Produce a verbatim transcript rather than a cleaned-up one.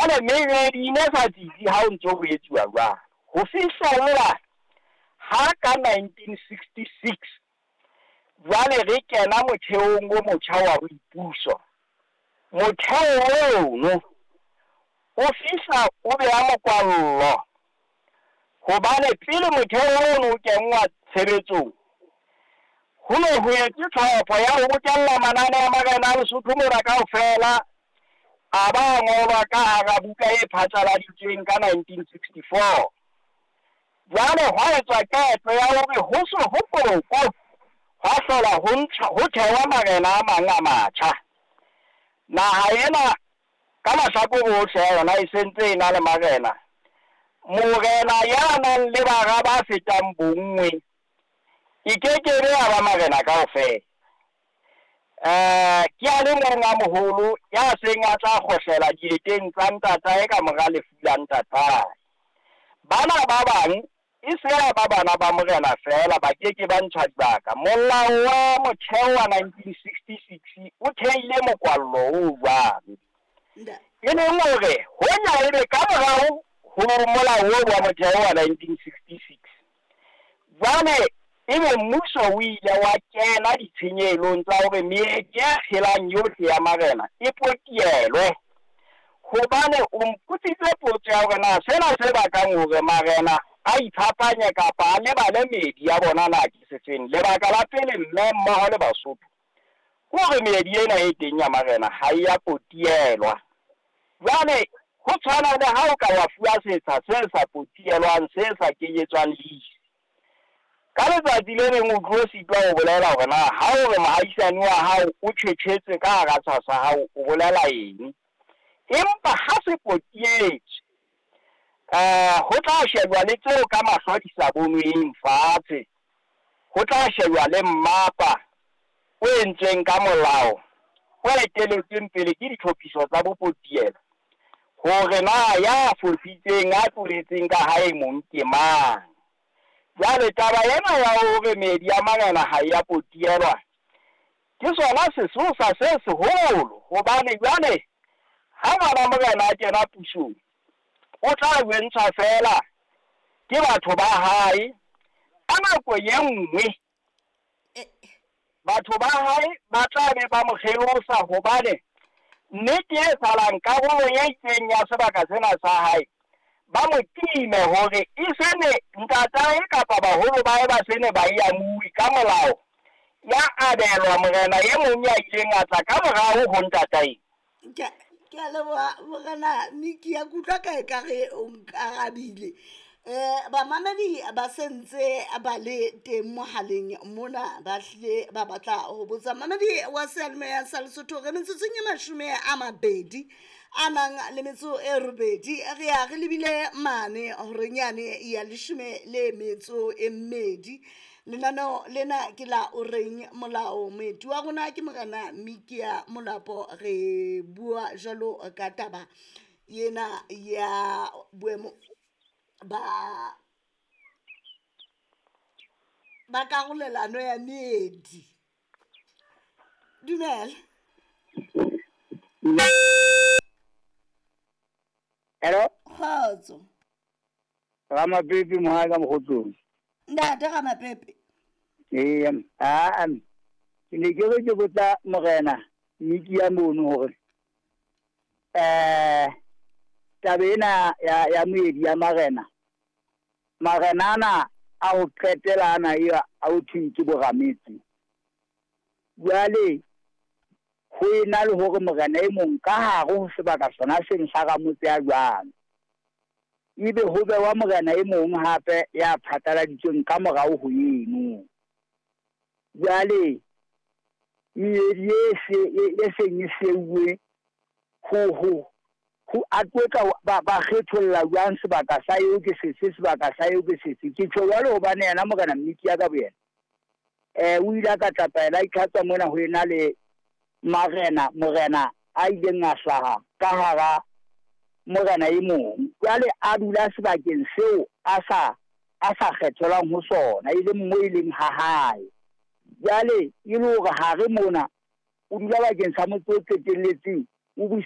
Jwale meedi e ne sa tsitsi ha o ntso ho etsuwa jwalo. Ho fihlella ha ka nineteen sixty-six jwale re kena motheong o motjha wa boipuso. Motheo ono o fihla o beha mokwallo, hobane pele motheo ono o kenngwa tshebetsong ho ne ho etswe tlhopho ya ho bokella manane a marena a Lesotho mona kaofela, a ba ngolwa ka hara buka e phatlaladitsweng ka nineteen sixty-four. Jwale hwa etswa qeto ya hore ho se ho poko hwa hlola ho ntjha, ho thewa marena a mang a matjha. Naha ena ka mahlakore ohle a yona e sentse e na le marena. Morena ya nang le bara ba fetang bonngwe e kekebe ya ba marena kaofela. Eh, ke a le mong a moholo ya seng a tla kgohlela dieteng tsa ntatae ka mora lefu la ntatae. Bana ba bang e se ya ba bana ba morena feela, ba keke ba ntshwa dibaka. Molao wa motheo wa nineteen sixty-six o theile mokwallo o jwalo. E leng hore hoja ebe ka morao ho molao oo wa motheo wa nineteen sixty-six, jwale ebe mmuso o ile wa kena ditshenyehelong tsa hore meedi e phelang yohle ya marena e potielwe. Hobane o mpotsitse potso ya hore na sena se bakang hore marena a iphapanye kapa a lebale meedi ya bona na ke sefeng. Lebaka la pele, mme mmoho le Basotho, ke hore meedi ena e teng ya marena ha e ya potielwa. Jwale ho tshwana le ha o ka wa fuwa setsha se sa potielwang, se sa kenyetswang lease. Ka letsatsi le leng o tlo sitwa ho bolela hore na ha o re mohaisane wa hao o tjhetjhetse ka hara tsha sa hao o bolela eng. Empa ha se potietswe, eh, ho tla shejwa le tseo ka mahlo a di sa bonweng fatshe. Ho tla shejwa le mmapa o entsweng ka molao o eteletsweng pele ke ditlhophiso tsa bopotielo, hore na ya fositseng a tloletseng ka hae mong ke mang. Jwale taba ena ya hore meedi ya marena ha e ya potielwa ke sona sesosa se seholo, hobane jwale ha ngwana morena a kena pusong o tla jwentshwa feela ke batho ba hae. Ka nako e nngwe batho ba hae ba tla be ba mo kgelosa, hobane nnete e salang karolo e itseng ya sebaka sena sa hae ba mo time hore e sene ntatae kapa baholo ba hae ba sene ba e amuwe ka molao, ya abelwa morena e mong ya ileng a tla ka morao ho ntatae. Ke a leboha morena Miki, ya kutlwa ka ekare o nkarabile. Eh, bamamedi ba sentse ba le teng mohaleng mona, ba hlile ba batla ho botsa. Mamedi wa seyalemoya sa Lesotho, re metsotsong e mashome a mabedi a nang le metso e robedi, re ya re lebile mane horeng yane ya leshome le metso e mmedi. Lenaneo lena ke la o reng molao. Moeti wa rona ke morena Mikia Molapo. Re bua jwalo ka taba ena ya boemo ba ba karolelano ya meedi. Dumela. Hello. Kgotso. Ramapepe mohae ka mokgotsong. Ntate Ramapepe. Ee, a ke ne ke re ke botsa morena Mikia mono hore eh taba ena ya ya moedi ya marena, marena ana a ho qetela ana eo a ho thweng ke borametse. Jwale ho ena le hore morena e mong ka hare ho sebaka sona seng sa ramotse ya jwalo, ebe ho bewa morena e mong hape ya phatlaladitsweng ka morao ho eno. Jwale meedi e se e seng e seuwe ho ho ho a tlotla ba ba kgetholla jwang sebaka sa eo ke sefe, sebaka sa eo ke sefe. Ke tjho jwalo hobane yena morena Miki ya ka boyena eh o ile a ka tlapaela itlhatswa mona ho ena le marena morena a ileng a hlaha ka hara morena e mong. Jwale a dula sebakeng seo a sa a sa kgethelwang ho sona, e leng mo e leng ha hae. Jwale e le hore hare mona o dula bakeng sa motse o qetelletseng o